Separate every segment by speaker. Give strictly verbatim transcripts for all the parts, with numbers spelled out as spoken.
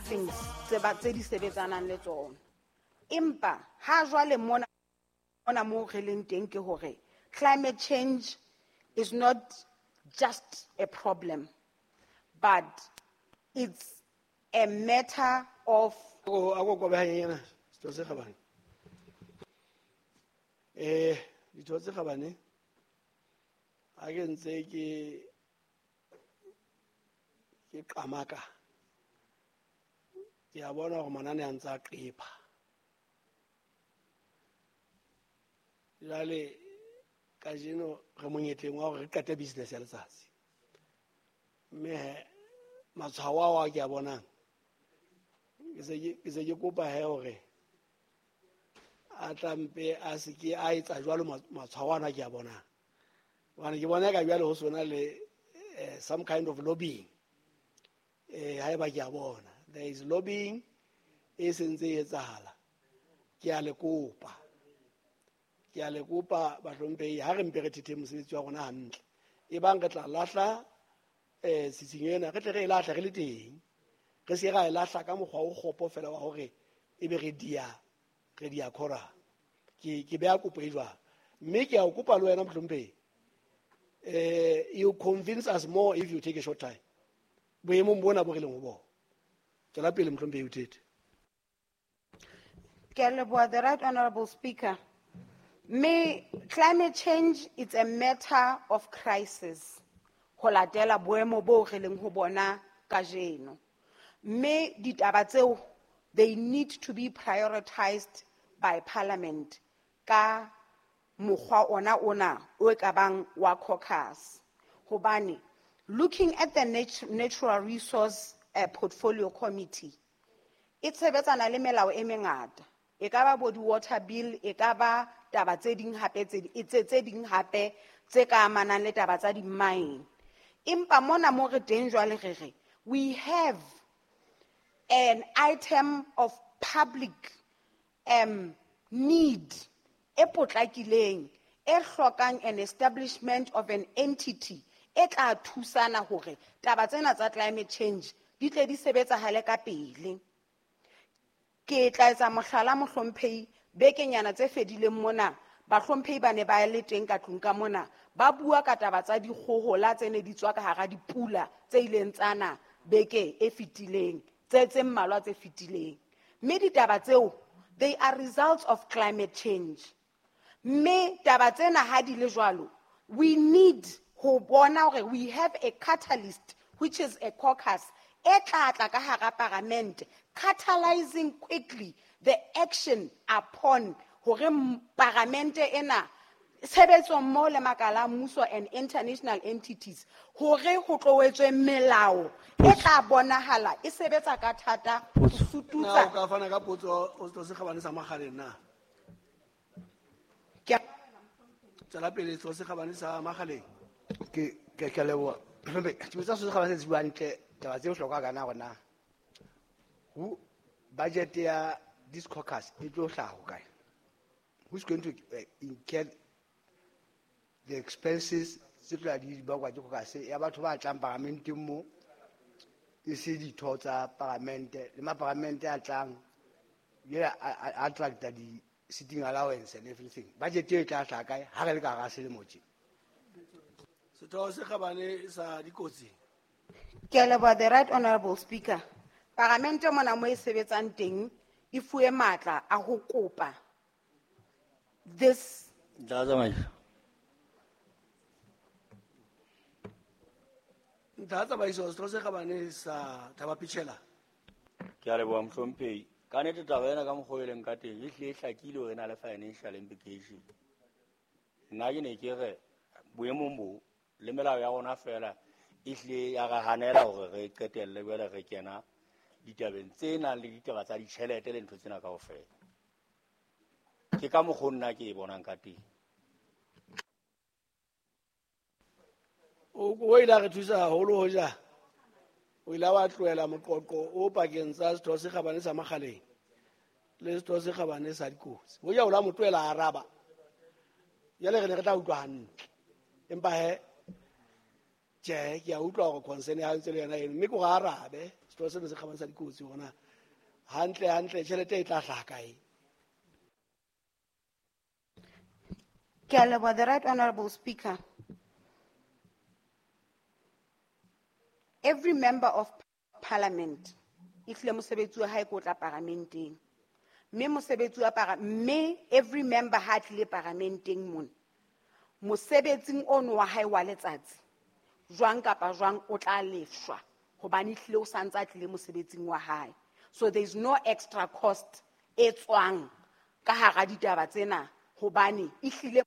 Speaker 1: things tse ba tse di sebetsanang le tsona. Empa ha jwale mona mona mo re leng teng ke hore climate change is not just a problem, but it's a matter of
Speaker 2: Ako ako kobe hanyenyana setho se kgabane. Eh ditho tse kgabane ha ke ntse ke ke qamaka ke a bona hore manane a ntse a qepha. Jwale kajeno re monyetleng wa hore re qete business ya letsatsi. Mme he matshwao ao a ke a bonang ke se ke ke se ke kopa he hore a tla mpe a se ke a etsa jwalo matshwao ana ke a bonang. Hobane ke bona ka jwale ho sona le eh, some kind of lobbying. Eh haeba ke a bona there is lobbying e sentse e etsahala. Ke a le kopa. Ke a le kopa bahlomphehi ha re mpe re thethe mosebetsi wa rona hantle. E bang re tla lahla eh tsitsinyo ena re tle re e lahle re le teng. Re se ra e lahla ka mokgwa o kgopo fela wa hore ebe re dia re dia khora. Ke ke beha kopo e jwang. Mme ke a o kopa le wena mohlomphehi. Eh you convince us more if you take a short time. Boemong bona bo re leng ho bona. Tswela pele mohlomphehi o thethe.
Speaker 1: Ke a leboha, the Right Honorable Speaker. Me, climate change is a matter of crisis. Ho latela boemo bo re leng ho bona kajeno. Mme ditaba tseo, they need to be prioritized by Parliament ka mokgwa ona ona o e kabang wa caucus. Hobane, looking at the nat-, Natural Resource, uh, Portfolio Committee, e tshebetsana le melao e mengata. E ka ba bo di-water bill, e ka ba taba tse ding hape tse di-, tse, tse ding hape tse ka amanang le taba tsa di-mine. Empa mona mo re teng jwale re re, we have an item of public, um, need e potlakileng, e hlokang an establishment of an entity e tla thusana hore taba tsena tsa climate change di tle di sebetsahale ka pele. Ke tla etsa mohlala mohlomphehi, bekenyana tse fedileng mona, bahlomphehi ba ne ba le teng ka tlung ka mona, ba bua ka taba tsa dikgohola tse ne di tswa ka hara dipula tse ileng tsa na beke e fetileng, tse tse mmalwa tse fetileng. Mme ditaba tseo, they are results of climate change. Mme taba tsena ha di le jwalo, we need ho bona hore we have a catalyst, which is a caucus, e tla tla ka hara parliament, catalyzing quickly the action upon hore m-, parliament ena tshebetso mmoho le makala a mmuso and international entities hore ho tlo etswe melao e tla bonahala e sebetsa ka thata ho sututsa.
Speaker 2: Na o ka fana ka potso o tlo se kgabane sa Makgaleng na?
Speaker 1: Ke a
Speaker 2: Tswela pele, tlo se kgabane sa Makgaleng.
Speaker 3: Ke, ke, ke a leboha. Ke botsa se kgabane se buang hantle, taba tse bohlokwa ka na hore na ho budget ya this caucus e tlo hlaha ho kae? Who's going to, eh, incur the expenses tse tlo ya di bakwa ke caucus ya batho ba tlang paramenteng mo, e se ditho tsa paramente le maparamente a tlang, ye a, a, a attracta di sitting allowance and everything. Budget e tla hlaha kae ha re le ka hara selemo tje?
Speaker 2: Setho se kgabane sa dikotsi.
Speaker 1: Ke a leboha, the Right Honorable Speaker. Paramente mona mo e sebetsang teng e fuwe matla a ho kopa this.
Speaker 4: Ntlha tsamaiso.
Speaker 2: Ntlha tsamaiso, setho se kgabane sa Thaba Pichela.
Speaker 4: Ke a leboha mohlomphehi. Ka nnete taba ena ka mokgwa o e leng ka teng e hlile e hlakile hore e na le financial implication. Nna ke ne ke re boemong bo le melao ya rona fela e hlile ya re hanela hore re qetelle jwale re kena ditabeng tse nang le ditaba tsa ditjhelete le ntho tsena kaofela. Ke ka mokgwa nna ke e bonang ka teng.
Speaker 2: O, o ile a re thusa haholo hoja o ile wa tlohela moqoqo o pakeng tsa setho se kgabane sa Makgaleng le setho se kgabane sa dikotsi. Hoja o la mo tlohela a araba, jwale re ne re tla utlwa hantle. Empa he, tjhe, ke a utlwa hore concern ya hao ntse le yona eno, mme ke hore a arabe Setho sena se kgabane sa dikotsi hore na hantle hantle tjhelete e tla hlaha kae.
Speaker 1: Ke a leboha, the Right Honorable Speaker. Every member of parliament e hlile mosebetsi wa hae ke o tla paramenteng. Mme mosebetsi wa para, mme every member ha tlile paramenteng mona, mosebetsing ono wa hae wa letsatsi, jwang kapa jwang o tla lefshwa hobane ehlile o santse a tlile mosebetsing wa hae. So there is no extra cost e tswang ka hara ditaba tsena hobane ehlile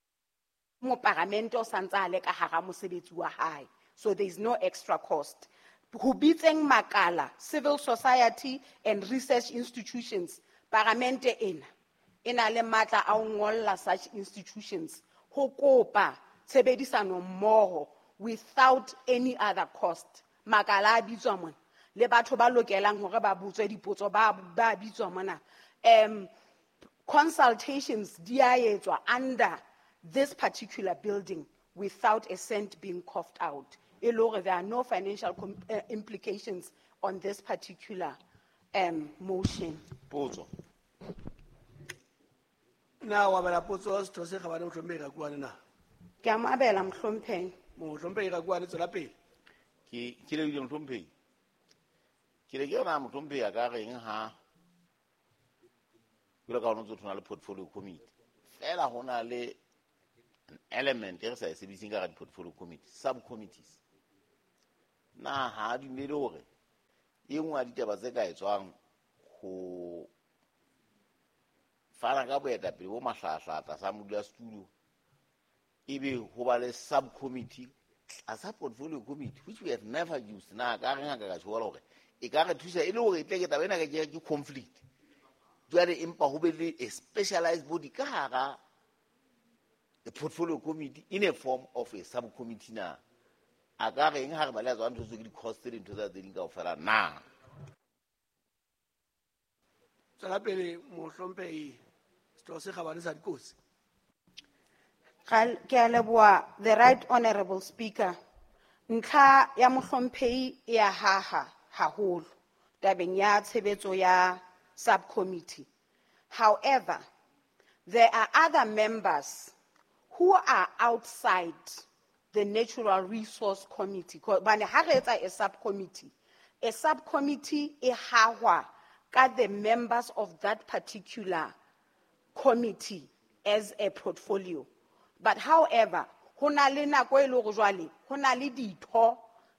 Speaker 1: moparamente o santse a le ka hara mosebetsi wa hae. So there is no extra cost. Ho bitseng makala, civil society and research institutions, paramente ena e na le matla a ho ngolla such institutions ho kopa tshebedisano mmoho without any other cost. Makala a bitswa mona le batho ba lokelang hore ba botswe dipotso ba, ba bitswa mona. Um, consultations di a etswa under this particular building without a cent being coughed out. E le hore there are no financial com-, uh, implications on this particular, um, motion.
Speaker 5: Potso.
Speaker 2: Na wa bala potso setho se kgabane mohlomphehi Rakuane na?
Speaker 1: Ke a mo abela mohlomphehi.
Speaker 2: Mohlomphehi Rakuane tswela pele.
Speaker 5: Ke, ke lebile mohlomphehi. Ke le ke yona mohlomphehi a ka reng ha jwalo ka ha ho ntso thona le portfolio committee. Feela ho na le an element e re sa e sebediseng ka hara di-portfolio committee, subcommittees. Na ha a dumele hore e nngwe ya ditaba tse ka etswang ho fana ka boetapele bo mahlaahla tlasa modulasetulo, ebe ho ba le subcommittee tlasa portfolio committee, which we have never used. Na ka reng ha ka ka tjho hore e ka re thusa e le hore e tle ke taba ena ke ke conflict. Jwale empa ho be le a specialized body ka hara the portfolio committee in a form of a subcommittee na. A ka reng ha re ba le tswa ntho tse ke di-cost tse dintho tsa tse ding kaofela na?
Speaker 2: Tswela pele mohlomphehi setho se kgabane sa dikotsi.
Speaker 1: Ke a leboha, the Right Honorable Speaker. Ntlha ya mohlomphehi e a haha haholo tabeng ya tshebetso ya subcommittee. However, there are other members who are outside the Natural Resource Committee. Hobane ha re etsa a subcommittee, a subcommittee e hahwa ka the members of that particular committee as a portfolio. But however, ho na le nako e le hore jwale, ho na le ditho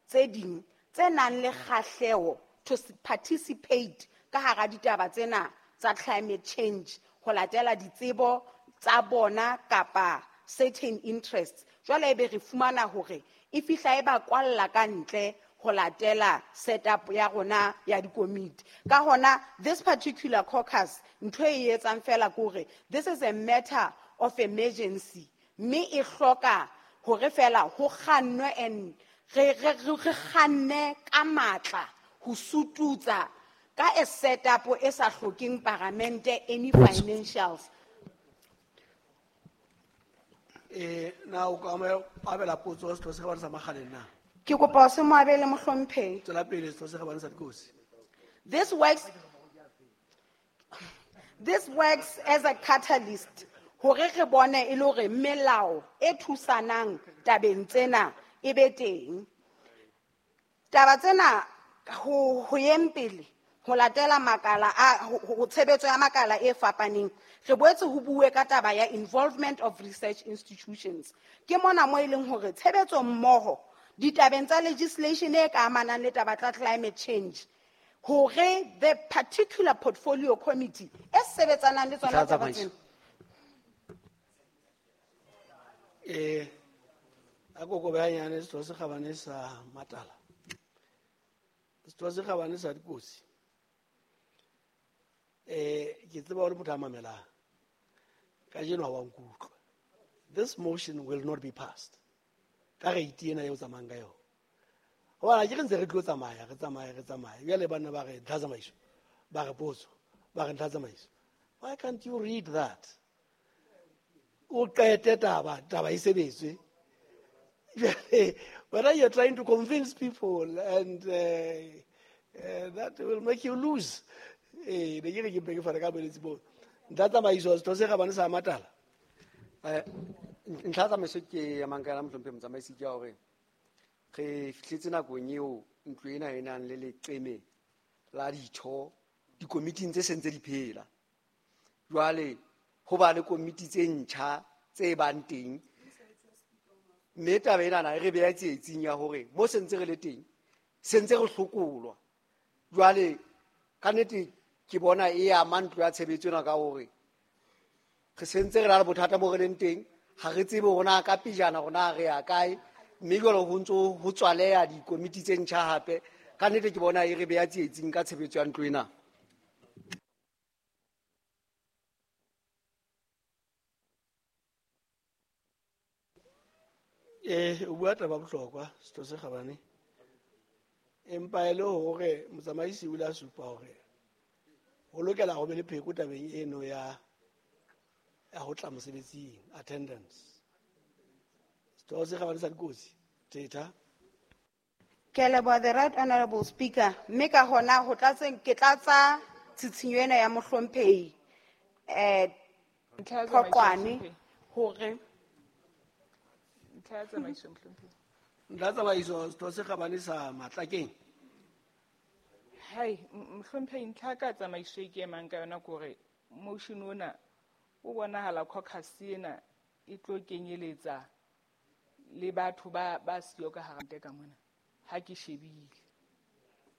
Speaker 1: tse ding tse nang le kgahleho to s-, participate ka hara ditaba tsena tsa climate change, ho latela ditsebo tsa bona kapa certain interests. Jwale ebe re fumana hore e fihla e ba kwalla ka ntle ho latela setup ya rona ya dikomiti. Ka hona, this particular caucus, ntho e etsang fela ke hore this is a matter of emergency. Mme e hloka hore fela ho kgannwe and re, re, re, re kganne ka matla ho sututsa ka a setup e sa hlokeng paramente any financials.
Speaker 2: Eh, na o ka mo abela potso setho se kgabane sa Makgaleng na?
Speaker 1: Ke kopa o se mo abele mohlomphehi.
Speaker 2: Tswela pele setho se kgabane sa dikotsi.
Speaker 1: This works, this works as a catalyst hore re bone e le hore melao e thusanang tabeng tsena e be teng. Taba tsena ho, ho yeng pele ho latela makala a, ho, ho tshebetso ya makala e fapaneng, re boetse ho bue ka taba ya involvement of research institutions. Ke mona mo e leng hore tshebetso mmoho ditabeng tsa legislation e ka amanang le taba tsa climate change, hore the particular portfolio committee e sebetsanang le tsona
Speaker 3: Tla
Speaker 1: taba
Speaker 3: tsamaiso.
Speaker 1: tsena.
Speaker 2: Eh, a koko ba nyane setho se kgabane sa Matala. Setho se kgabane sa dikotsi. Eh, ke tseba hore motho a mamelang. Kajeno ha wa nkutlwa. This motion will not be passed. Ka rate ena eo tsamayang ka yona. Hobane ha ke re ntse re tlo tsamaya, re tsamaya, re tsamaya. Jwale banna ba re ntlha tsamaiso, ba re potso, ba re ntlha tsamaiso. Why can't you read that? O qete taba, taba e sebetswe. Whether you're trying to convince people and, uh, Uh, that will make you lose. Eh, ne ke re ke mpe ke fane ka boeletsi boo. Ntlha tsamaiso setho se kgabane sa Matala.
Speaker 6: Eh, ntlha tsamaiso ke amang ka yona mohlomphehi motsamaisi ke ya hore re fihletse nakong eo ntlo ena e nang le leqeme la ditho dikomiting tse seng tse di phela. Jwale ho ba le komiti tse ntjha tse bang teng, mme taba enana e re beha tsietsing ya hore mo sentse re le teng sentse re hlokolwa. Jwale ka nnete ke bona e ama ntlo ya tshebetso ena ka hore re sentse re na le bothata mo re leng teng, ha re tsebe hore na ka pejana hore na re ya kae, mme jwale ho ntso ho tswaleha dikomiti tse ntjha hape. Ka nnete ke bona e re beha tsietsing ka tshebetso ya ntlo ena.
Speaker 2: Eh, o bua taba bohlokwa setho se kgabane, empa e le hore motsamaisi o ile a supa hore ho lokela ho be le pheko tabeng eno ya, ya ho tla mosebetsing, attendance. Setho se kgabane sa dikotsi, Thetha.
Speaker 1: Ke a leboha, the right honorable speaker. Mme ka hona ho tlatseng ke tlatsa tshitshinyo ena ya mohlomphehi, eh,
Speaker 7: Ntlha ya tsamaiso,
Speaker 1: Phokwane,
Speaker 7: mohlomphehi.
Speaker 1: hore
Speaker 7: Ntlha ya tsamaiso, mohlomphehi.
Speaker 2: Ntlha ya tsamaiso, setho se kgabane sa Matlakeng.
Speaker 7: Hai, m-, mohlomphehi, ntlha ka tsamaiso e ke emang ka yona ke hore motion ona o bonahala caucus ena e tlo kenyeletsa le batho ba, ba siyo ka hara nte ka mona. Ha ke shebile.